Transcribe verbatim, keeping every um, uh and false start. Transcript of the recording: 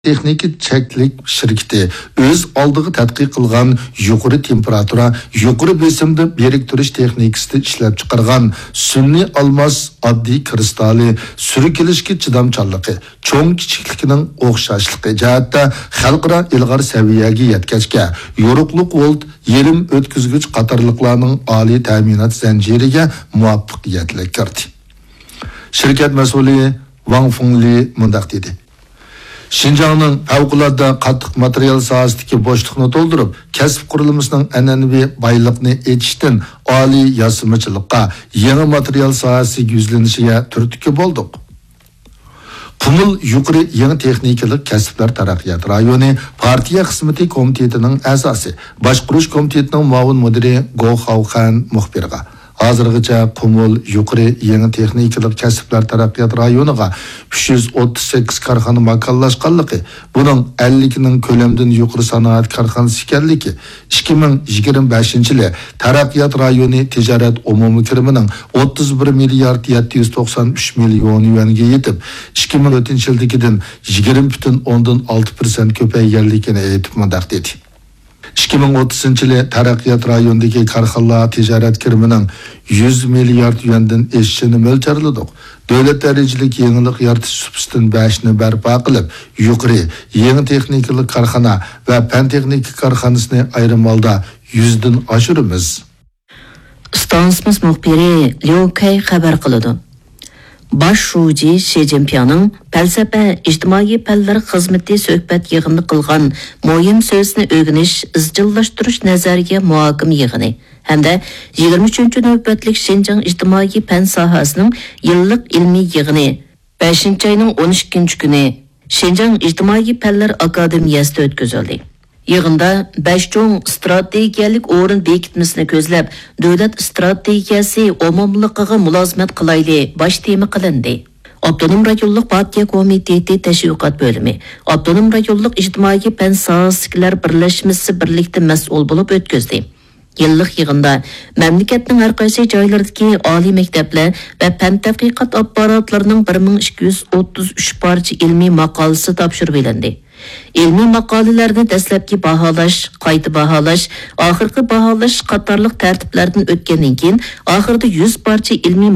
تېخنىكا چەكلىك شىركىتى ئۆز ئالدىغا تەتقىق قىلغان يۇقىرى تېمپېراتۇرا، يۇقىرى بېسىمدا بىرىكتۈرۈش تېخنىكىسىدا ئىشلەپچىقارغان سۈنئىي ئالماس ئاددىي كىرىستالى سۈركىلىشكە چىدامچانلىقى، چوڭ كىچىكلىكىنىڭ ئوخشاشلىقى جەھەتتە خەلقئارا ئىلغار سەۋىيەگە يەتكەچكە، يورۇقلۇق ۋولت يېرىم ئۆتكۈزگۈچ قاتارلىقلارنىڭ ئالىي تەمىنات زەنجىرىگە مۇۋەپپەقىيەتلىك كىردى. شىركەت مەسئۇلى ۋاڭ فېڭلى مۇنداق دېدى: شىنجاڭنىڭ پەۋقۇلئاددە قاتتىق ماتېرىيال ساھەسىدىكى بوشلۇقنى تولدۇرۇپ، كەسىپ قۇرۇلمىسىنىڭ ئەنئەنىۋى بايلىقنى ئېچىشتىن ئالىي ياسىمىچىلىققا، يېڭى ماتېرىيال ساھەسىگە يۈزلىنىشىگە تۈرتكە بولدۇق. قۇمۇل يۇقىرى يېڭى تېخنىكىلىق كەسىپلەر تەرەققىيات رايونى پارتىيە خىزمىتى كومىتېتىنىڭ ئەزاسى، باشقۇرۇش كومىتېتىنىڭ مۇئاۋىن مۇدىرى گو خاۋخەن مۇخبىرغا، ھازىرغىچە قۇمۇل يۇقىرى يېڭى تېخنىكىلىق كەسىپلەر تەرەققىيات رايونىغا ئۈچ يۈز ئوتتۇز سەككىز كارخانا ماكانلاشقانلىقى، بۇنىڭ ئەللىكىنىڭ كۆلەمدىن يۇقىرى سانائەت كارخانىسى ئىكەنلىكى، ئىككى مىڭ يىگىرمە بەشىنچى يىلى تەرەققىيات رايونى تىجارەت ئومۇمىي كىرىمىنىڭ ئوتتۇز بىر مىليارد يەتتە يۈز توقسان ئۈچ مىليون يۈەنگە يېتىپ، ئىككى مىڭ تۆتىنچى يىلدىكىدىن يىگىرمە پۈتۈن ئوندىن ئالتە پىرسەنت كۆپەيگەنلىكىنى ئېيتىپ مۇنداق دېدى: ئىككى مىڭ ئوتتۇزىنچى يىلى تەرەققىيات رايونىدىكى كارخانىلار تىجارەت كىرىمىنىڭ يۈز مىليارد يۈەندىن ئېشىشىنى مۆلچەرلىدۇق. دۆلەت دەرىجىلىك يېڭىلىق يارىتىش سۇپىسىدىن بەشنى بەرپا قىلىپ، يۇقىرى يېڭى تېخنىكىلىق كارخانا ۋە پەن تېخنىكا كارخانىسىنى ئايرىم ھالدا يۈزدىن ئاشۇرىمىز. ئىستانسىمىز مۇخبىرى ليۇ كەي خەۋەر قىلىدۇ. باش شۇجى شى جىنپىڭنىڭ پەلسەپە، ئىجتىمائىي پەنلەر خىزمىتى سۆھبەت يىغىنىدا قىلغان مۇھىم سۆزىنى ئۆگىنىش، ئىزچىللاشتۇرۇش نەزەرىيە مۇھاكىمە يىغىنى ھەمدە يىگىرمە ئۈچىنچى نۆۋەتلىك شىنجاڭ ئىجتىمائىي پەن ساھەسىنىڭ يىللىق ئىلمىي يىغىنى بەشىنچى ئاينىڭ ئون ئىككىنچى كۈنى شىنجاڭ ئىجتىمائىي پەنلەر ئاكادېمىيەسىدە ئۆتكۈزۈلدى. يىغىندا بەش چوڭ ئىستراتېگىيەلىك ئورۇن بېكىتمىسىنى كۆزلەپ، دۆلەت ئىستراتېگىيەسى ئومۇملۇقىغا مۇلازىمەت قىلايلى باش تېما قىلىندى. ئاپتونوم رايونلۇق پارتىيە كومىتېتى تەشۋىقات بۆلۈمى، ئاپتونوم رايونلۇق ئىجتىمائىي پەن ساھەسىدىكىلەر بىرلەشمىسى بىرلىكتە مەسئۇل بولۇپ ئۆتكۈزدى. يىللىق يىغىندا مەملىكەتنىڭ ھەر قايسى جايلىرىدىكى ئالىي مەكتەپلەر ۋە پەن تەتقىقات ئاپپاراتلىرىنىڭ بىر مىڭ ئىككى يۈز ئوتتۇز ئۈچ پارچە ئىلمىي ماقالىسى تاپشۇرۇۋېلىندى. ئىلمىي ماقالىلەرنى دەسلەپكى باھالاش، قايتا باھالاش، ئاخىرقى باھالاش قاتارلىق تەرتىپلەردىن ئۆتكەندىن كېيىن، ئاخىرىدا يۈز پارچە ئىلمىي